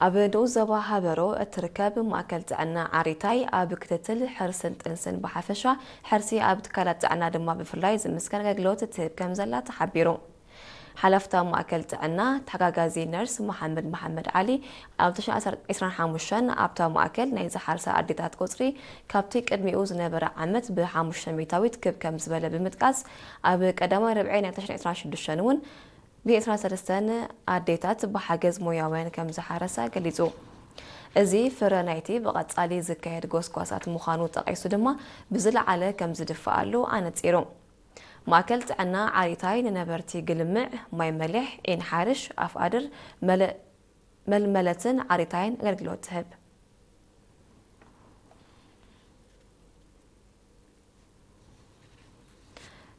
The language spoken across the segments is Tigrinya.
ኣብ ንኡስ ዞባ ሃበሮ እትርከብ ማእከል ጥዕና ዓሪታይ ኣብ ክትትል ሕርስን ጥንስን ብሓፈሻ፣ ሕርሲ ኣብ ትካላት ጥዕና ድማ ብፍላይ ዝምስከን ኣገልግሎት ትህብ ከም ዘላ ተሓቢሩ። ሓላፍታ ማእከል ጥዕና ተሓጋጋዚ ነርስ መሓመድ መሓመድ ዓሊ ኣብ ዕስራን ሓሙሽተን ኣብታ ማእከል ናይ ዝሓርሳ ኣዴታት ቁጽሪ ካብቲ ቅድሚኡ ዝነበረ ዓመት ብሓሙሽተ ሚእታዊት ክብ ከም ዝበለ ብምጥቃስ፣ ኣብ ቀዳማይ ርብዒ ናይ ዕስራን ሽዱሽተን እውን ብ ዕስራን ሰለስተን ኣዴታት ብሓገዝ ሞያውያን ከም ዝሓረሳ ገሊጹ። እዚ ፍረ ናይቲ ብቐጻሊ ዝካየድ ጎስጓሳት ምዃኑ ጠቒሱ ድማ ብዝለዓለ ከም ዝድፍኣሉ ኣነጺሩ። ማእከል ጥዕና ዓሪታይ ንነበርቲ ግልምዕ፣ ማይ መሊሕ፣ ዒን ሓርሽ፣ ኣፍ ኣድር፣ መለ-፣ መልመለትን ዓሪታይን ኣገልግሎት ትህብ።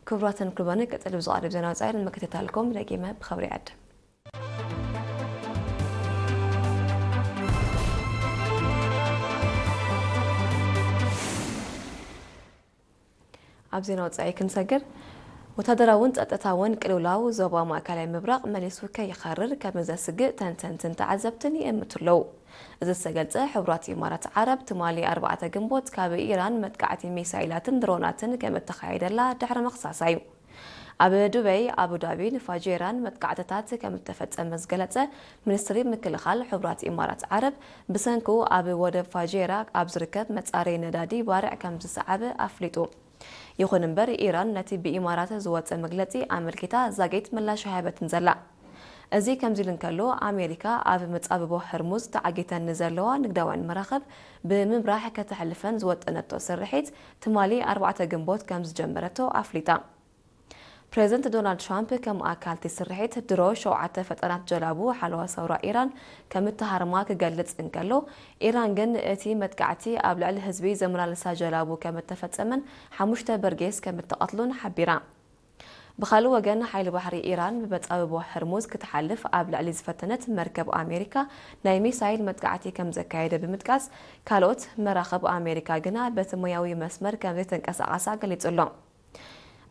ክቡራትን ክቡራንን፣ ቀጽሊ ብዝቐርብ ዜና ወጻኢ ንምክትታልኩም ደጊመ ብኽብሪ ይዕድም። ኣብ ዜና ወጻኢ ክንሰግር፣ ወታደራውን ጸጥታውን ቅልውላው ዞባ ማእከላይ ምብራቕ መሊሱ ከይኸርር ከም ዘስግእ ተንተንትን ተዓዘብትን ይእምቱ ኣለዉ። እዚ ዝተገልጸ፣ ሕቡራት ኢማራት ዓረብ ትማሊ ኣርባዕተ ግንቦት ካብ ኢራን መጥቃዕቲ ሚሳይላትን ድሮናትን ከም እተኻየደላ ድሕሪ ምኽሳሳ እዩ። ኣብ ዱበይ፣ ኣቡዳቢን ፋጄራን መጥቃዕትታት ከም እተፈጸመ ዝገለጸ ሚኒስትሪ ምክልኻል ሕቡራት ኢማራት ዓረብ፣ ብሰንኩ ኣብ ወደብ ፋጄራ ኣብ ዝርከብ መጻረዪ ነዳዲ ባርዕ ከም ዝሰዓበ ኣፍሊጡ። ይኹን እምበር፣ ኢራን ነቲ ብኢማራት ዝወጸ መግለጺ ኣመልኪታ ዛጊት ምላሽ ኣይሃበትን ዘላ። እዚ ከምዚ ኢሉ እንከሎ፣ ኣሜሪካ ኣብ መጻብቦ ህርሙዝ ተዓጊተን ንዘለዋ ንግዳውያን መራኽብ ብምምራሕ ከተሕልፈን ዝወጠነቶ ስርሒት ትማሊ ኣርባዕተ ግንቦት ከም ዝጀመረቶ ኣፍሊጣ። ፕሬዝደንት ዶናልድ ትራምፕ ከም ኣካል እቲ ስርሒት ድሮ ሸውዓተ ፈጣናት ጀላቡ ሓለዋ ሰውራ ኢራን ከም እተሃርማ ክገልጽ እንከሎ፣ ኢራን ግን እቲ መጥቃዕቲ ኣብ ልዕሊ ህዝቢ ዘመላልሳ ጀላቡ ከም እተፈጸመን ሓሙሽተ በርጌስ ከም እተቐትሉን ሓቢራ። ብኻልእ ወገን፣ ሓይሊ ባሕሪ ኢራን ብመጻብቦ ህርሙዝ ክትሓልፍ ኣብ ልዕሊ ዝፈተነት መርከብ ኣሜሪካ ናይ ሚሳይል መጥቃዕቲ ከም ዘካየደ ብምጥቃስ፣ ካልኦት መራኽብ ኣሜሪካ ግና በቲ ሞያዊ መስመር ከም ዘይተንቀሳቐሳ ገሊጹ ኣሎ።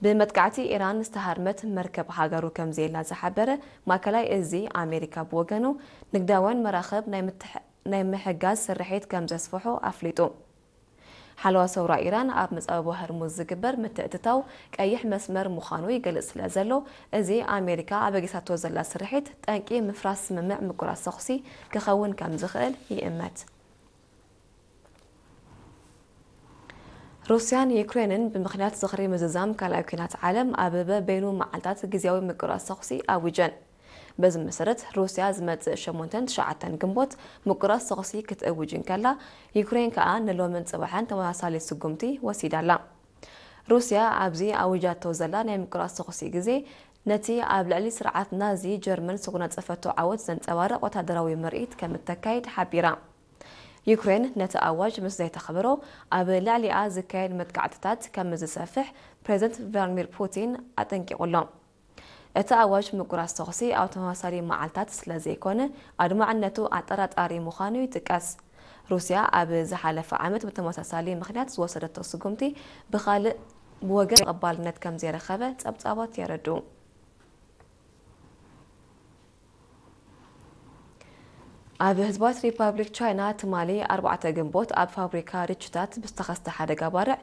ብመጥቃዕቲ ኢራን ዝተሃርመት መርከብ ሃገሩ ከም ዘየላ ዝሓበረ ማእከላይ እዚ ኣሜሪካ ብወገኑ፣ ንግዳውያን መራኽብ ናይ ምትሕ-፣ ናይ ምሕጋዝ ስርሒት ከም ዘስፍሑ ኣፍሊጡ። ሓለዋ ሰውራ ኢራን ኣብ መጻብቦ ህርሙዝ ዝግበር ምትእትታው ቀይሕ መስመር ምዃኑ ይገልጽ ስለ ዘሎ፣ እዚ ኣሜሪካ ኣበጊሳቶ ዘላ ስርሒት ጠንቂ ምፍራስ ስምምዕ ምቁራጽ ተኹሲ ክኸውን ከም ዝኽእል ይእመት። ሩስያን ዩክሬንን ብምኽንያት ዝኽሪ ምዝዛም ካልኣይ ኲናት ዓለም ኣብ በበይኑ መዓልታት ግዝያዊ ምቁራጽ ተኹሲ ኣዊጀን። በዚ መሰረት፣ ሩስያ ዝመጽእ ሸሞንተን ትሽዓተን ግንቦት ምቁራጽ ተኹሲ ክትእውጅ እንከላ፣ ዩክሬን ከኣ ንሎምን ጽባሕን ተመሳሳሊ ስጉምቲ ወሲዳ ኣላ። ሩስያ ኣብዚ ኣዊጃቶ ዘላ ናይ ምቁራጽ ተኹሲ ግዜ፣ ነቲ ኣብ ልዕሊ ስርዓት ናዚ ጀርመን ዝተጎናጸፈቶ ዓወት ዘንጸባርቕ ወታደራዊ ምርኢት ከም እተካይድ ሓቢራ። ዩክሬን ነቲ ኣዋጅ ምስ ዘይተኽብሮ፣ ኣብ ልዕሊኣ ዝካየድ መጥቃዕትታት ከም ዝሰፍሕ ፕሬዝደንት ቭላድሚር ፑቲን ኣጠንቂቑ ኣሎ። እቲ ኣዋጅ ምቁራጽ ተኹሲ ኣብ ተመሳሳሊ መዓልታት ስለ ዘይኮነ፣ ኣድማዕነቱ ኣጠራጣሪ ምዃኑ ይጥቀስ። ሩስያ ኣብ ዝሓለፈ ዓመት ብተመሳሳሊ ምኽንያት ዝወሰደቶ ስጉምቲ ብኻልእ ብወገን ተቐባልነት ከም ዘይረኸበ ጸብጻባት የረድኡ። ኣብ ህዝባዊት ሪፓብሊክ ቻይና ትማሊ ኣርባዕተ ግንቦት ኣብ ፋብሪካ ርችታት ብዝተኸስተ ሓደጋ ባርዕ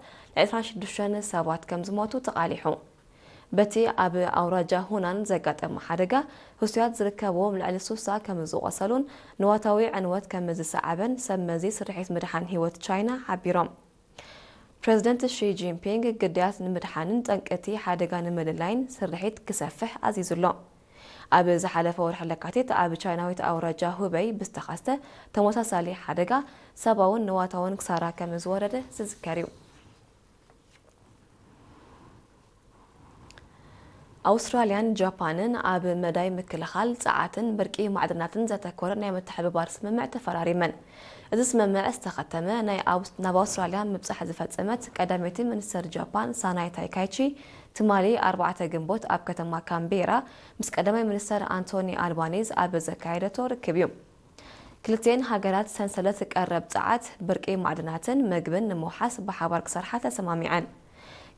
ዕስራን ሽዱሽተን ሰባት ከም ዝሞቱ ተቓሊሑ። በቲ ኣብ ኣውራጃ ሁናን ዘጋጠመ ሓደጋ፣ ህሱያት ዝርከብዎም ልዕሊ ሱሳ ከም ዝቖሰሉን ንዋታዊ ዕንወት ከም ዝሰዓበን ሰብ መዚ ስርሒት ምድሓን ህይወት ቻይና ሓቢሮም። ፕሬዝደንት ሺ ጂንፒንግ ግዳያት ንምድሓንን ጠንቅቲ ሓደጋ ንምልላይን ስርሒት ክሰፍሕ ኣዚዙ ኣሎ። ኣብ ዝሓለፈ ወርሒ ለካቲት ኣብ ቻይናዊት ኣውራጃ ሁበይ ብዝተኸስተ ተመሳሳሊ ሓደጋ ሰብኣውን ንዋታውን ክሳራ ከም ዝወረደ ዝዝከር እዩ። ኣውስትራልያን ጃፓንን ኣብ መዳይ ምክልኻል ጸዓትን ብርቂ ማዕድናትን ዘተኮረ ናይ ምትሕብባር ስምምዕ ተፈራሪመን። እዚ ስምምዕ ዝተኸተመ ናይ ኣውስ-፣ ናብ ኣውስትራልያ ምብጻሕ ዝፈጸመት ቀዳመይቲ ሚኒስተር ጃፓን ሳናይ ታይካይቺ ትማሊ ኣርባዕተ ግንቦት ኣብ ከተማ ካምቤራ ምስ ቀዳማይ ሚኒስተር ኣንቶኒ ኣልባኒዝ ኣብ ዘካየደቶ ርክብ እዩ። ክልቲኤን ሃገራት ሰንሰለት ቀረብ ጸዓት፣ ብርቂ ማዕድናትን መግብን ንምውሓስ ብሓባር ክሰርሓ ተሰማሚዐን።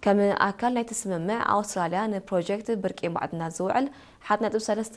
ከም ኣካል ናይቲ ስምምዕ፣ ኣውስትራልያ ንፕሮጀክት ብርቂ ማዕድናት ዝውዕል ሓደ ነጥቢ ሰለስተ